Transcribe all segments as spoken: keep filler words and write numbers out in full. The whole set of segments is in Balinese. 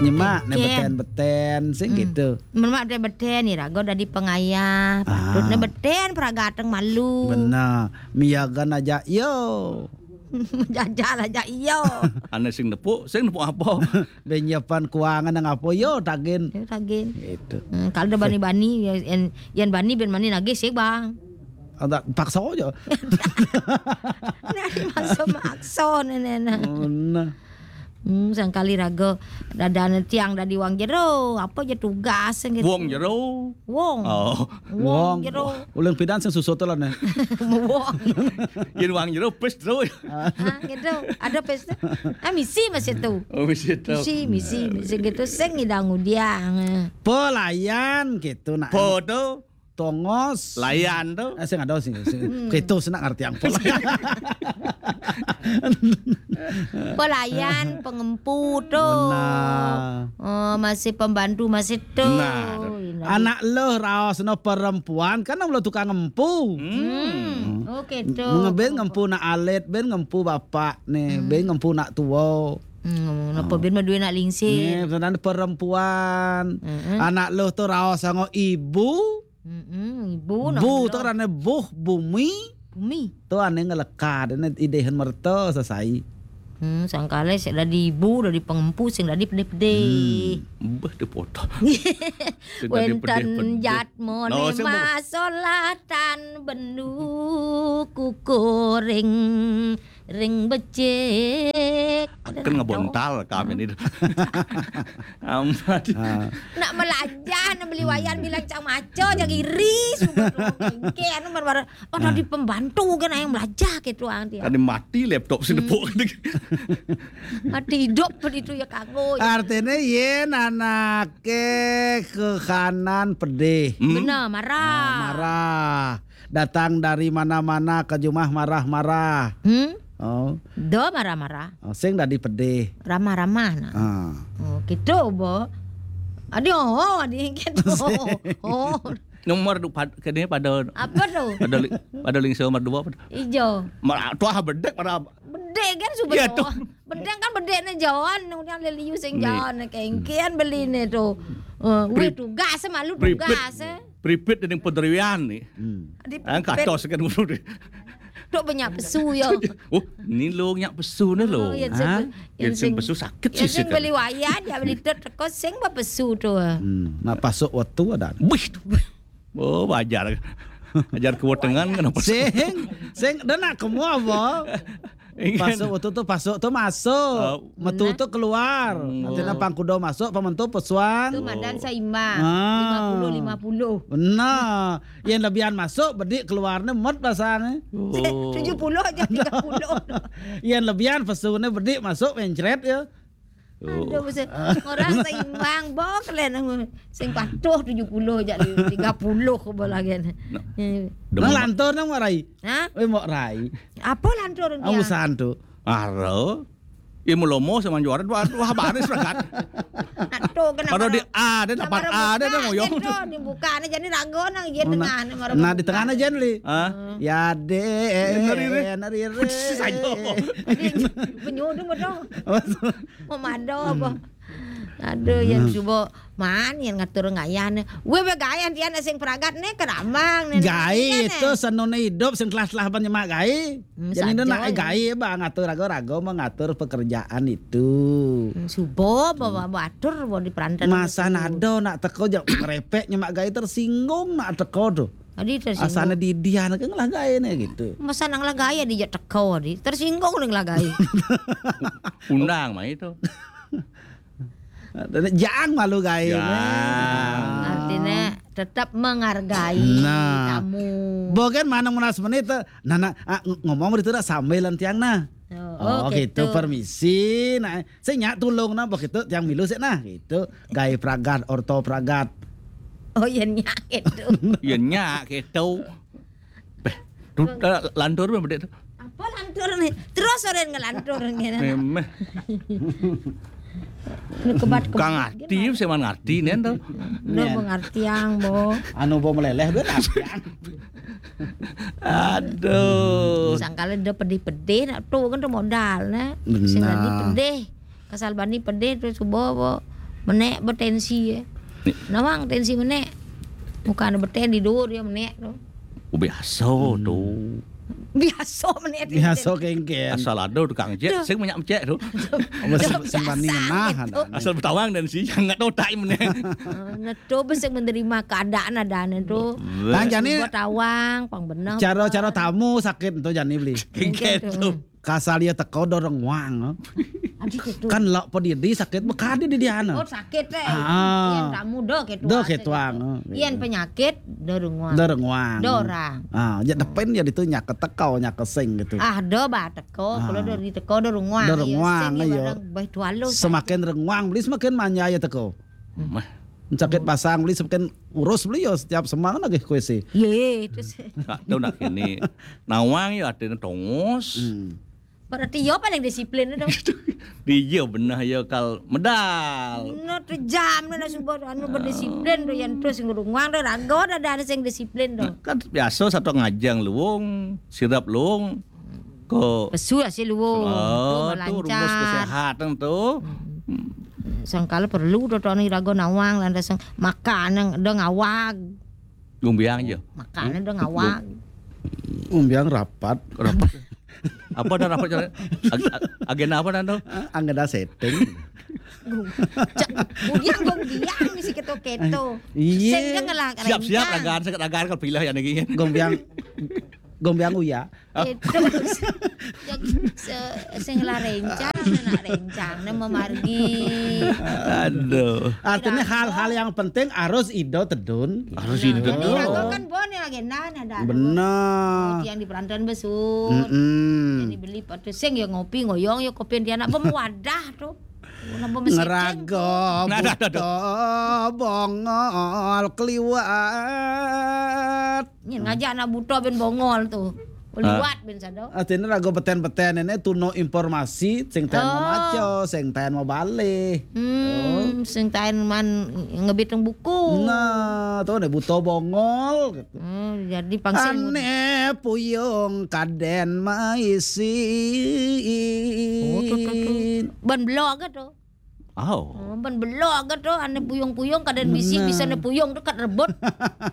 Nyemak né beten-beten sing gitu. Nyemak beten-beten iraga dadi pangayah, patut né beten pragateng malu. Bener. Miagan aja yo. Jajal aja iyo. Ané sing nepuk, sing nepuk apa? Benyepan kuangan nang apa yo tagin. Yo tagin. Gitu. Hmm, kalau ada bani-bani ya, yang, yang bani ben mani nagih sih, Bang. Ada paksa aja. Nah, maksa-maksa nenek. Oh, nah. Hmm, sangkali raga dadane tiang dadi wong jero, apa aja tugas gitu. Wong jero. Wong. Oh. Wong jero. Uling pidan sing susut lah nih. Wong. Yen wong jero pes terus. Ah, gitu. Ada pes. Ah, misi masih tuh. Oh, misi tuh. Misi, misi, misi gitu sing ngidang udiang. Pelayan gitu nak. Foto. Tongos. Layan tuh. Eh, sing ada sing, sing. Gitu sing nak ngerti yang pelayan. Pelayan, pengempu tuh. Benar. Oh, masih pembantu masih tuh. Nah, anak lo raos no perempuan kan lo tukang ngempu. Hmm. Oke tuh. Mengeben ngempu nak alit, ben ngempu bapak nih, ben ngempu nak tua. Hmm, napa ben maduwe nak lingsir. Nih, perempuan. Anak lo tuh raos sama ibu. Mm-mm, ibu nak Bu to rane buh bumi. Bumi. To ane ngelekad, ane idehen merta sesai. Hmm, sangkale sik dadi ibu, dadi pengempu sing dadi pedih-pedih. Hmm. Beh, dipotong. Sing dadi pedih-pedih. Wenten jatmone masolatan bendu kukuring ring becik. Kan ngebontal kami ini. Amat. Ah. Nak melajah, nak beli wayan bilang cang maco, jang iri, sudah dong. Engke, anu, mar-mar, oh, tadi pembantu kan yang melajah gitu, ang dia. Tadi mati laptop sing nepuk. Mati hidup begitu ya, kanggo. Ya. Artinya, yen anake ke kanan pedih. Hmm. Bener, marah. Ah, marah. Datang dari mana-mana ke jumah marah-marah. Hmm? Oh. Do marah-marah. Oh, sing dadi pedih. Ramah-ramah nah. Ah. Oh, gitu, Bo. Adi, oh, adi gitu. Oh. Nomor du-, pad-, kene pada apa tuh? Pada li-, pada lingso nomor dua apa tuh? Ijo. Mar-, tuah bedek pada bedek kan sudah. Iya, tuh. Bedek kan bedek ne John, kemudian leliu sing John, kengkian beli ne tuh. Eh, wih, tugas malu tugas. Pripit dening pederian nih. Hmm. Di katos kan ngono deh. Tok banyak pesu ya. Oh, ini lo nyak pesu nih lo. Oh, yang sing pesu sakit sih. Yang sing beli wayan ya beli tok teko sing ba pesu tuh. Hmm, nah pasuk waktu ada. Wih. Oh, wajar. Ajar kewetengan kenapa? Sing, sing, dan nak kamu apa? Pasuk waktu tuh pasuk tuh masuk, metu tuh keluar. Nanti nampang kuda masuk, pementu pesuang. Itu madan seimbang. Ah. Lima puluh lima puluh. Benar. Yang lebihan masuk, bedik keluarnya mot pasangnya. Oh. Tujuh puluh aja tiga puluh. Yang lebihan pesunya bedik masuk mencret ya. Aduh, buset. Orang seimbang, bok, kalian sing patuh tujuh puluh jadi tiga puluh bola gini. Nang lantur nang marai. Hah? Eh, mau rai. Apa lantur dia? Amusan tuh. Aro. Ya melomo sama juara dua, dua baris lah kan. Aduh, kenapa? Pada di A, ada dapat A, ada ngoyong. Dibuka nih jadi rago nang iya tengah nih. Nah, di tengah aja nih. Hah? Ya deh, nari re. Sayo. Penyudung betul. Memado apa? Aduh, yang subo man yang ngatur ngayan. Weh, weh, gayan tian sing pragat nih keramang nih. Gae itu senone hidup sing telah-telah penyemak gae. Jadi itu nak gae, bang, ngatur rago-rago mengatur pekerjaan itu. Subo bawa batur bawa di perantan. Masa nado nak teko jak ngerepek nyemak gae tersinggung nak teko tuh. Tadi tersinggung. Asana didian ke ngelah gae nih gitu. Masa nang lah gae di jak teko di. Tersinggung nih lah gae. Undang mah itu. Jang malu gae. Jang. Artinya tetap menghargai tamu. Bogen manang melas menit tuh. Nah, nah, ah, ng-, ngomong begitu dah sambilan tiang nah. Oh, gitu. Permisi. Nah, saya nyak tulung nah begitu tiang milu sih nah gitu. Gae pragat, orto pragat. Oh, iya nyak gitu. Iya nyak gitu. Beh, tu, eh, lantur mah bedek tu. Apa lantur nih? Terus orang ngelantur ngene. Memeh. Kang ngerti, saya man ngerti nen tu. Lo mengerti yang bo. Anu bo meleleh duit apian. Aduh. Sangkala dia pedih-pedih nak tu kan tu modal nah. Sing tadi pedih. Kasal bani pedih tu subo bo. Menek betensi ya. Nawang tensi menek. Bukan beten di dur ya menek tu. Biasa tu. Biasa menek tensi. Biasa kengken. Asal ada tukang cek, sing banyak cek tu. Apa sing bani ngenah ada. Asal bertawang dan si sangat otak menek. Neto besek menerima keadaan ada tu. Tang jani bertawang, pang benar. Cara-cara tamu sakit tu jani beli. Kengken tu. Kasal ia teko do renguang. Kan lok pedidi sakit bekadi di diana. Oh, sakit eh. Ah. Yang tamu do ketua. Do ketuang. Yang penyakit do renguang. Do renguang. Do orang. Ah, ya depen ya ditu nyak teko nyak sing gitu. Ah, do ba teko, kalau do di teko do renguang. Do renguang, iya. Semakin renguang beli semakin manja ya teko. Mah. Sakit pasang beli semakin urus beli ya setiap semang lagi kuisi. Ye, terus. Nak tahu nak kini. Nawang ya artinya tongos. Berarti yo paling disiplin tu. Dia benar ya kal medal. No terjam no subuh anu berdisiplin tu yang terus ngurunguang tu rago dah ada sing disiplin tu. Kan biasa satu ngajang luwung, sirap luwung. Ko pesu hasil luwung. Oh, tu rumus kesehatan tu. Sangkala perlu tu tu ni rago nawang lantas makan nang dong awag. Gumbiang je. Makan dong awag. Gumbiang rapat. Rapat. Apa dah rapat cara? Ag- ag- agenda apa dah tu? Agenda setting. Gumbiang gumbiang si keto-keto. Iya. Sing dia ngelak. Siap-siap ragaan, sakit ragaan kalau pilih yang lagi. Gumbiang gumbiang uya. Itu. Sing lah rencang, nak rencang, nak memargi. Aduh. Artinya hal-hal yang penting harus ido tedun. Harus ido tedun. Ini rago kan bon ya agenda ada. Benar. Yang di perantauan besut. Yang dibeli patu sing ya ngopi ngoyong ya kopi dia nak wadah tu. Ngerago buto bongol keliwat. Ngin ngajak anak buto ben bongol tu. Liwat ben sado. Artinya rago beten-beten ini tuno informasi sing taen mau maco, sing taen mau balih. Hmm, sing taen man ngebitung buku. Nah, tu ni buto bongol gitu. Hmm, jadi pangsil. Ane puyung kaden maisi. Oh, tu, tu, tu. Ban blog tu. Oh. Oh, ban belok ke tu, ane puyung-puyung kaden bisi, bisa ne puyung tu kat rebut.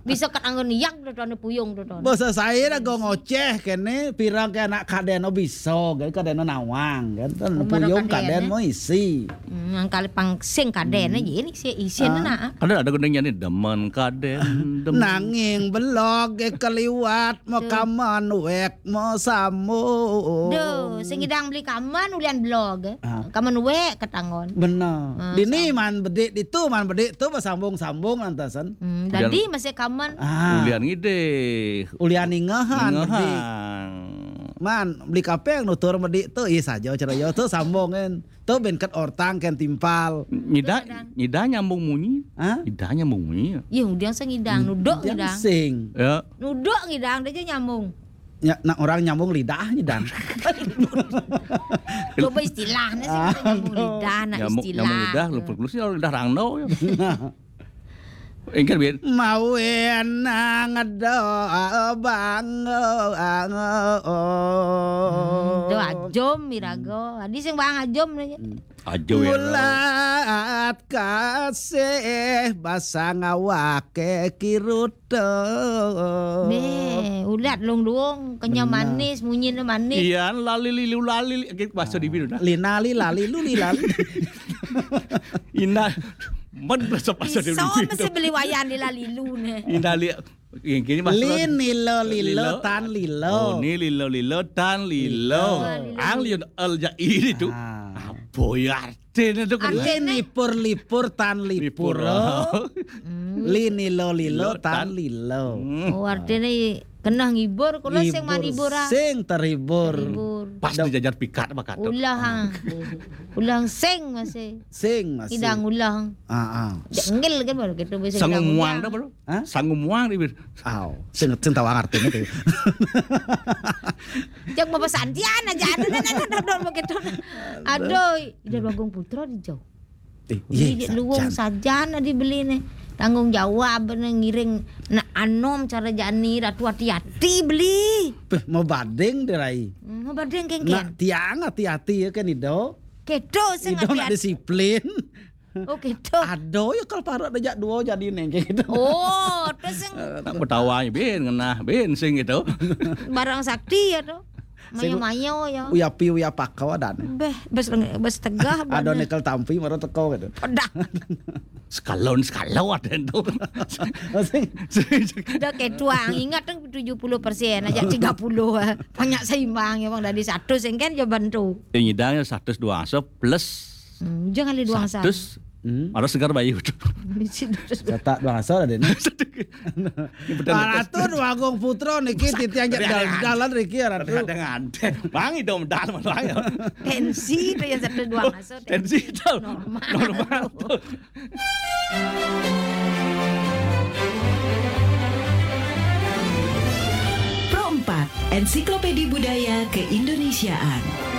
Bisa kat anggon iyak tu, tu ane puyung tu, tu. Basa saya dah go ngoceh kene, pirang ke anak kaden oh bisa, kan kaden oh nawang kan. Kan puyung kaden mau isi. Hmm, yang kali pang sing kaden aja ini si isin nak. Ada ada gendengnya ni demen kaden, demen. Nanging belok ke keliwat mau kaman wek mau sambung. Duh, sing idang beli kaman ulian belok. Kamen wek ketanggon. Benar. Dini man bedik ditu man bedik tu bersambung-sambung lantasan. Hmm, jadi masih kamen. Ulian ngidih. Ulian ingehan bedik. Man beli kapeng nutur bedik tu ih saja ceroyo tu sambung kan. Tu ben ket ortang kan timpal. Nyida nyida nyambung munyi. Hah? Nyida nyambung munyi. Iya, udah sing ngidang, nuduk ngidang. Sing. Ya. Nuduk ngidang dia je nyambung. Ya, nak orang nyambung lidah nyidang. Coba istilahnya sih kita nyambung lidah, nak nyambung, istilah. Nyambung lidah, lupus-lupus ya lidah rangno ya. Engker biar. Mawen ngedo bang. Hmm, do ajom mirago. Adi sing bang ajom nih. Ajo ya. Mulat kasih basa ngawake kiruto. Be, ulat lung-lung, kenyal manis, munyine manis. Iya, lali lilu lali, gitu, bahasa di biru dah. Linali lali lu lilali. Indah, men bahasa bahasa di biru. Iso mesti beli wayan di lali lu ne. Indah li, Lin lilo lilo tan lilo. Oh, ni lilo lilo tan lilo. Ang liun el ja ini tu. Apa ya artinya tu kan? Lin lipur lipur tan lipur. Lin lilo lilo tan lilo. Oh, artinya kena ngibur, kalau sing manibur ah. Sing terhibur. Pas dijajar pikat apa kata? Ulah. Ulang sing masih. Sing masih. Idang ulang. Ah, ah. Ngil kan baru gitu bisa. Sangu muang dah baru. Hah? Sangu muang dia. Aw, sing sing tahu artinya tu. Cek bapak santian aja ada ada ada ada begitu. Aduh, ida Bagong Putra di jauh. Eh, iya, luwung sajan adi beli nih. Tanggung jawab nih ngiring nak anom cara jani ratu hati-hati beli. Peh, mau bading deh rai. Hmm, mau bading kengken. Nak tiang hati-hati ya kan ido. Kedo sing hati-hati. Ido nak disiplin. Oh gitu. Ada ya kalau parut dejak dua jadi neng kayak gitu. Oh, terus yang Eh, tak bertawa bin ngenah bin sing gitu. Barang sakti ya tuh. Mayo-mayo ya. Uyapi uyapakau ada. Beh, bes bes tegah. Ada nekel tampi maro teko gitu. Pedah. Sekalon sekalo ada itu. Sing Udah kayak tuang, ingat dong tujuh puluh persen aja tiga puluh. Banyak seimbang ya bang dari satu sing kan jawaban tuh. Yang nyidang ya satu dua asa plus Hmm, jangan ada dua asa. Satu. Hmm. Ada segar bayu tuh. Cetak dua asa ada nih. Ratu Dwagung Putra niki titiang jek dalan riki ya Ratu. Ada ngante. Bang itu medal malah ya. Tensi itu yang satu dua asa. Tensi itu. Normal. Normal tuh. Pro empat, Ensiklopedi Budaya Keindonesiaan.